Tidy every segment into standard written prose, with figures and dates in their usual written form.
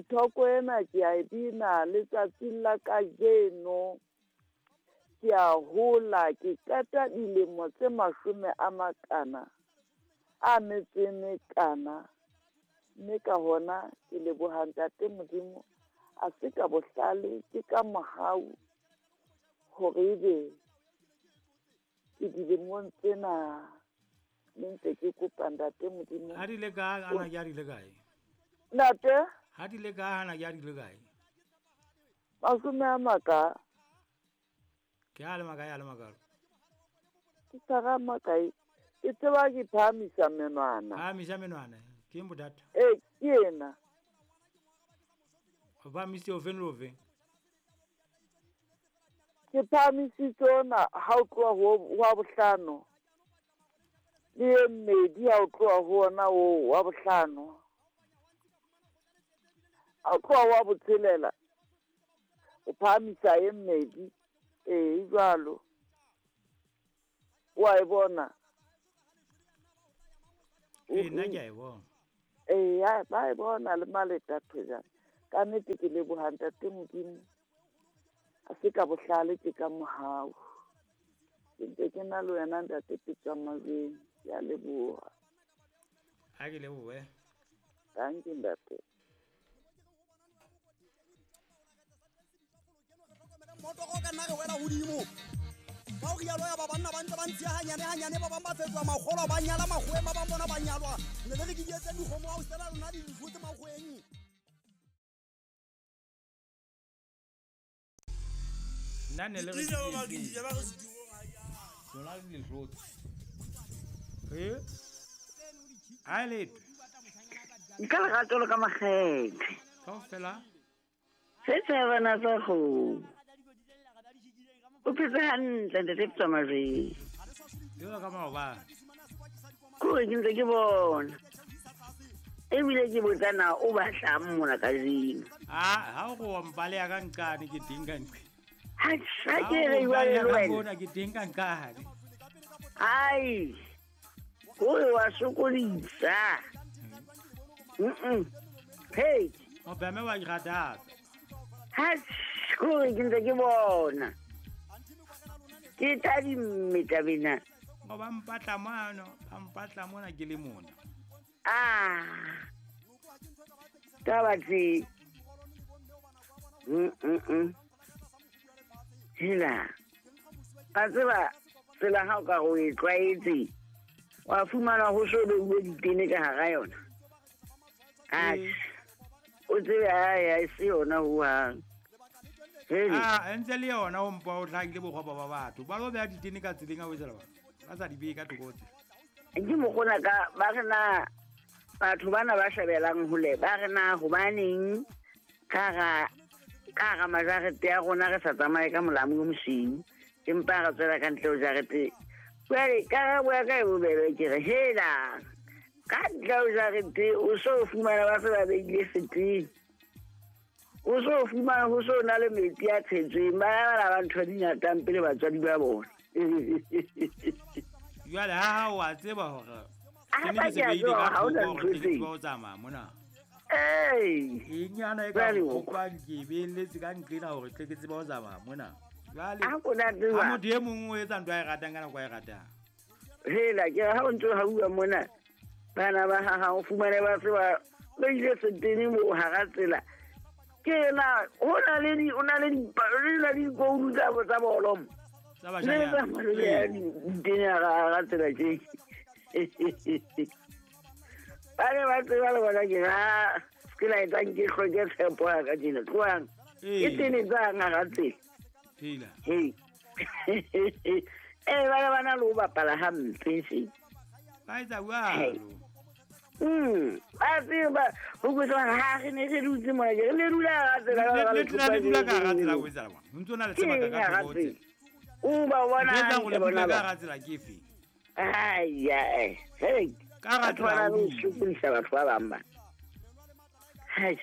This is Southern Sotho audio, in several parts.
Thoko ena ke a e bina letsatsing la kajeno. Ke a hola, ke qeta dilemo tse mashome a makana a metso e mekana. Mme ka hona ke leboha Ntate Modimo, a se ka bohlale, ke ka mohau hore ebe ke dilemong tsena mme ntse ke kopa Ntate Modimo. Ha di le kae, ana ke a di le kae? Ntate? Ha di le kae, ana ke a di le kae? Mashome a maka. Ke a le makae, a le makalo? Ke tshwara makae. Ke tseba ke phahamisa menwana. Phahamisa menwana. Ke eng bothata? Ee, ke ena. O phahamisitse ofeng le ofeng? Ke phahamisitse ona ha o tloha ho wa bohlano. Le e mmedi ha o tloha ho ona oo wa bohlano. Ha o tloha wa botshelela, o phahamisa e mmedi. Ee, e jwalo. Wa e bona? Ee, nna ke a e bona. Ee, ba e bona le maleta thojana. Ka nnete ke leboha Ntate Modimo. A se ka bohlale, ke ka mohau. Ke ntse ke na le wena Ntate Petswa Majweng. Ke a leboha. Ha ke lebohe. Thank you Ntate. Motoro ka nna re wela hodimo. Ka ho rialo ya ba banna ba ntse ba ntshiya hanyane hanyane, ba bang ba fetoha makgolo, ba nyala makgoweng, ba bang bona ba nyalwa. Ne le re ke di etse dikgomo ha o sela lona di hlotse makgoweng. Nna ne le re lona le di hlotse. Eh? A letwe. Nka lerato le ka makgethe. Kaofela. Se tsebana tsa kgomo. O phetse hantle Ntate Petswa Majweng. Jwalo ka maobane. Kore ke ntse ke bona. Ebile ke botsa na o batlang mona kajeno. Ah, ha o go wa mpaleha ka nqane ke teng ka nqe. Ha ke re jwale le wena. Mona ke teng ka nqane. Ai. Kore wa sokodisa. Hey. O beme wa ikgathatsa. Ha kore ke ntse ke bona. Ke tadimme tabena. O ba mpatla mano, ba mpatla mona ke le mona. Ah. Taba tse. Hela. Ka tseba tsela ha o ka o e tlwaetse. Wa fumana ho so beuwe ditene ka hara yona. Ah. O tsebe ha e se yona ho hang. Ah, ntse le yona o mpa o hlakile bokgopo ba batho. Ba lo beha ditene ka tseleng a o etsela batho. Ba sa di beye ka thoko tsela. Ke mokgona ka ba re na batho bana ba shebelang hole ba re na hobaneng ka ga majarete ya rona re sa tsamaye ka molamu o mosweu empa re tswela ka ntle ho jarete. Jwale karabo ya ka e bobebe ke re hela ka ntle ho jarete o so fumana ba se ba beile setene. O so fumana ho so na le metsi a tshetsweng ba bala ba ntho di ngatang pele batswadi ba bona. Jwale ha o a tseba hore ke ne se beile ka thoko hore ke tsebe ho tsamaya mona. Ee. Eng yana e ka kopang ke beletse ka nqena hore tle ke tsebe ho tsamaya mona. Jwale ha tseba. Ha motho e mong o etsa ntho a e ratang ka nako a e ratang. Hela ke ha o ntso ha bua mona bana ba ha o fumane ba se ba beile setene mo hara tsela. Ke na ho na le di o na le dikoulu tsa bolo mo. Tsa bashanyana. Ditene hara tsela ke. Ba ne ba tseba le bona ke ha ke la etsang ke hloke tshepo ya ka tjena. Tlohang. Ke tene tsang hara tsela. Hela. Hey. Ba ne ba na le ho bapala hampe se. Ba etsa jwalo. Ba tseba ho kutlwa ha re ne re dutse mona ke le dula hara tsela le dula ka hara tsela o etsa bona. Ho ntso na le sebaka ka thoko tsela. O ba bona hantle bona ka hara tsela ke efe? Ai ai. Hey. Ka hara tsela o sokodisa batho ba bang ba. Hai.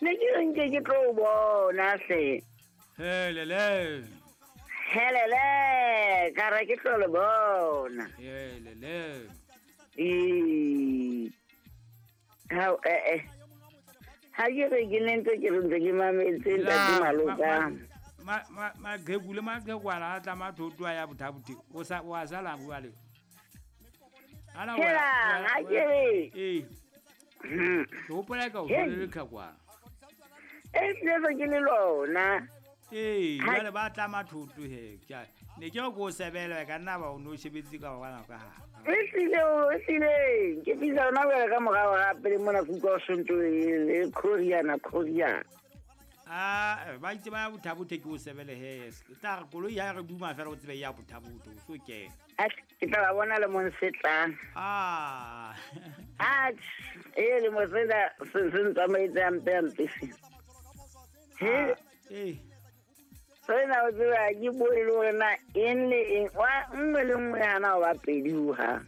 Ne ke nke ke tlo bona hle. Helele. Helele, ka re ke tlo le bona. Helele. Ee. Ha Ha ke re ke ne ntse ke re ntse ke mametse ntate Maloka. Maqheku le maqhekwana a tla mathoto a ya Botha-Bothe. O sa wa sala jwale. Ana Helang, ha ke re. Ee. Ke hopola ka o le leqhekwana. E tle ke le lona. Ee, jwale ba tla mathoto he. Ne ke re ko sebele ka nna ba o no shebetse ka bana ka ha. E tlile ke bitsa ona wela ka morao gape le mona kutlwa o sentse le khoriana. Ah, ba itse ba Botha-Bothe ke o sebele he. Tla re koloi ha re duma fela o tsebe ya Botha-Bothe o so ke. Ke tla ba bona le mong se tlang. Ah. E le mo sena se ntsamaetse hampe. He. Eh. Sena o tseba ke bue le hore na eng le eng wa nngwe le nngwe hana o ba pedi ho ha.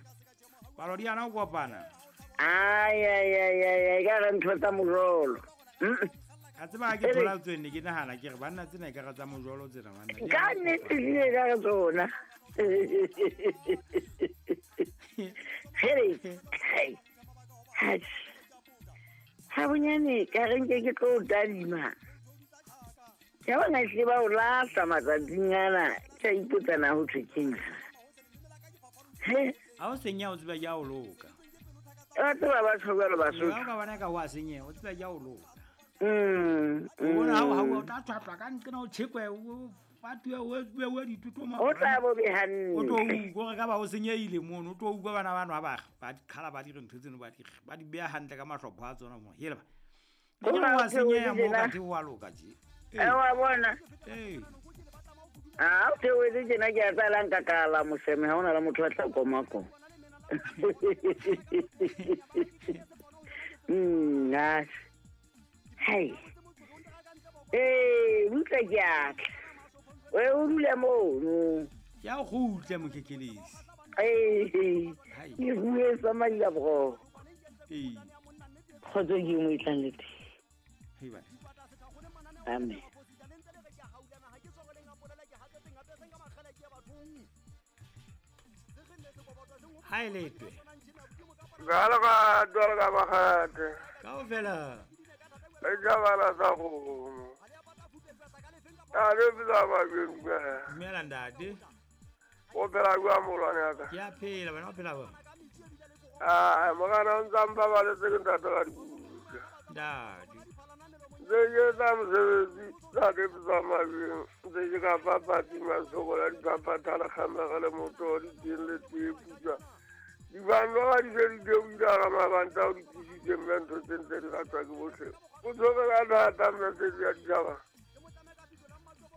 Palo di hana ho kopana. Ai ai ai ai ka re ntho tsa mojolo. A tseba ke thola tswene ke nahana ke re banna tsena e ka re tsa mojolo tsena banna. Ka nnete di ka re tsona. Hey. Hey. Ha bonyane ka re nke ke tlo tadima. Ya bona hle ba o lahla matsatsing ana ke a ipotsa na ho thwe keng. He ha o senya o tseba ya o loka. Ba tseba batho jwalo Basotho. Ha o ka bona ka ho a senya o tseba ya o loka. O bona ha o tla tshwatlwa ka nqena o tshekwe o fatuwe o bewe dituto mo. O tla bo be hantle. O tlo utlwa ka ba o senyehile mono o tlo utlwa bana bano ha ba ba qhala ba dire ntho tseno ba di beha hantle ka mahlopho a tsona mo. Hele ba. Ke wa senyeha mo ka the wa loka je. Wa bona. Ee. Ah, o theohetse tjena ke a tsala nka kala moseme ha hona le motho a tla koma ko. Hai. Eh, butla ke a tla. O dule mono. Ke a kgutle mokhekelesi. Eh. Ke bue sa madila bro. Ee. Kgotso ke mo itlang le teng. Hei ba. Amen. Ha e letwe. Gala ka dwala ka bagate. Kaofela. E jabala sa go. A re bitsa ba bengwe. Dumela ntate. O phela kwa molwane ya ka. Ke a phela wena o phela ba. Ah, mogana o ntsa mpa ba le tse ntate ka dibuka. Ntate. Tse ke tsa mosebetsi tsa ke tsa mabeng tse ke ka papatsi masokola dipapatha le kgamega le moto di teng le tee putswa. Dibano ga di se di deoile ga mabanta o di tlisitse mme ntho tse ntse di ratwa ke botlhe. O tshwere ka thata mme tse di a ditšhaba.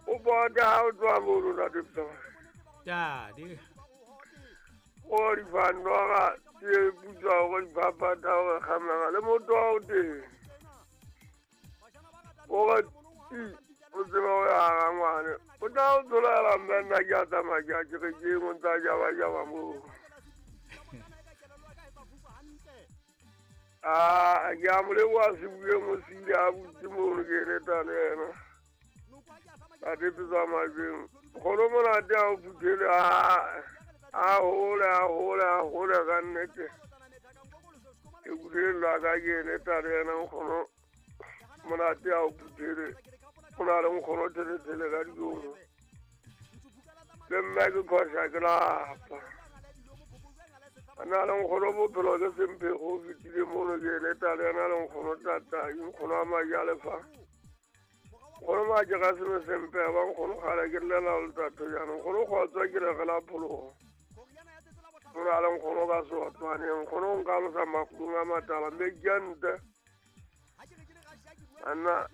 O bota ha o tswa mono ntate Ptama. Ntate. O dibano ga tee putswa gore dipapatha gore kgamega le moto wa o teng. O o tseba o ya ga ngwane. O tla o tsolela mme nna ke a tsamaya ke a ke re ke eng o ntsa jaba-jaba moo. Ah, ke a mo leboha sebueng o se ile a butse mono ke eleta le ena. Ntate Ptsa Majweng. Kgono monate ha o phuthele a hole a hole a hole ka nnete. Ke kutlwela ka ke eleta le ena nkgono. Monate ha o phuthele. O na le nkgono thelethele ka dikobo. Le mme ke khosa ke lapa. A na le nkgono bophelo ke semphego o fetile mono ke eleta le ena le nkgono tata nkgono a majalefa. Nkgono maje ga seme sempeba nkgono gale ke llela le tatho jaanong nkgono kgotswa ke re la phologo. O na le nkgono ka seotwane nkgono nka losa makulung a matala mme ke a nte. Anna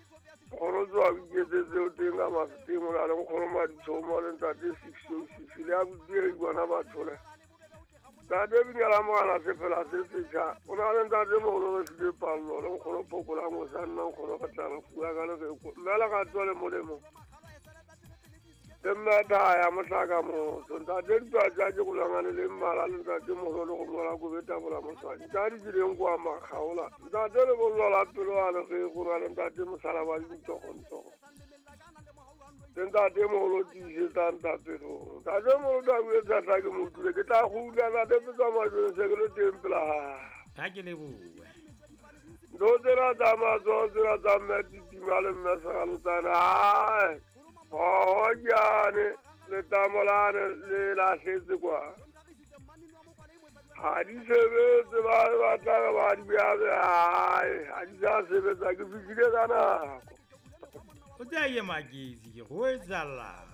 nkgono tsoa o iketsetse o teng ka mafeteng o na le nkgono maditshomo le ntate 606 le a botile bona batho le. Ntate Binyala mogala sefela se setšha o na le ntate mogolo re sile pallo le nkgono phokola mosa nna nkgono re tla re fua ka lereko mme le ga tswa le molemo. Le mme thaya motlaka motho ntate ditwa tsa ke golangane le mmala le ntate mogolo le go mola ko betabola mosadi ntate dileng kwa makgaola ntate le bollo la pelo a le ge go na le ntate mosala wa dintsogontsogo. Ntate mogolo tiisetsa ntapelong ntate mogolo tla buetsa tla ke mo utlwile ke tla go utlwa ntate Ptsa Majweng se ke le teng pela gae. Ha ke lebohe. Ntho Ntho tsena tsa matsoho tsena tsa mme Titima le mme Seralotsane ae hohojane letamo lane le lahletse kwa. Ha di sebetse ba batla re ba di beha ae ha di sa sebetsa ke fihlile ka nako. O tsaya ke maketsi ke go etsalang.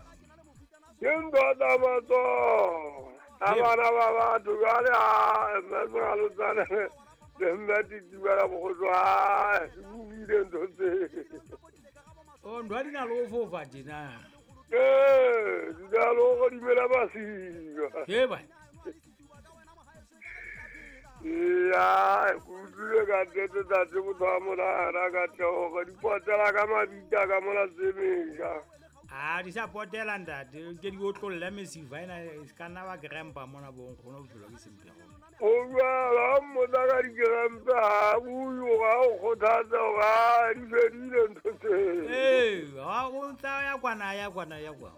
Ke ntho tsa matsoho a bana ba batho jwale ae mme Seralotsane le mme Titima la bogoso ae ke utlwile ntho tse. O ntho di na le ho fofa tjena. Ee, di na le ho godimela masiba. He ba. Eya, ke utlwile ka nnete tate motho wa monana ka theoga di potela ka mabita ka mona tsemesha. A di sa potela ntate, ke di otlolle mesifa ena e se ka nna ba krempa mona bo nkgono bophelo ke sempego. O jwalo ha mmotsa ka dikerempe ha bue gore a o kgothatse gore a di fedile ntho tse. Ee, ha o ntsa ya kwana ya kwana ya kwa.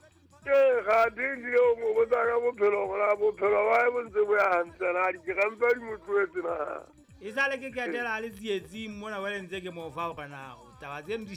Ee, gate ehlile o mo botsa ka bophelo gore a bophelo ba hae bo ntse bo ya hantle na dikerempe di mo tlohetse na. E sale ke ketela a le tsietsing mona jwale ntse ke mo fa hore na taba tseno di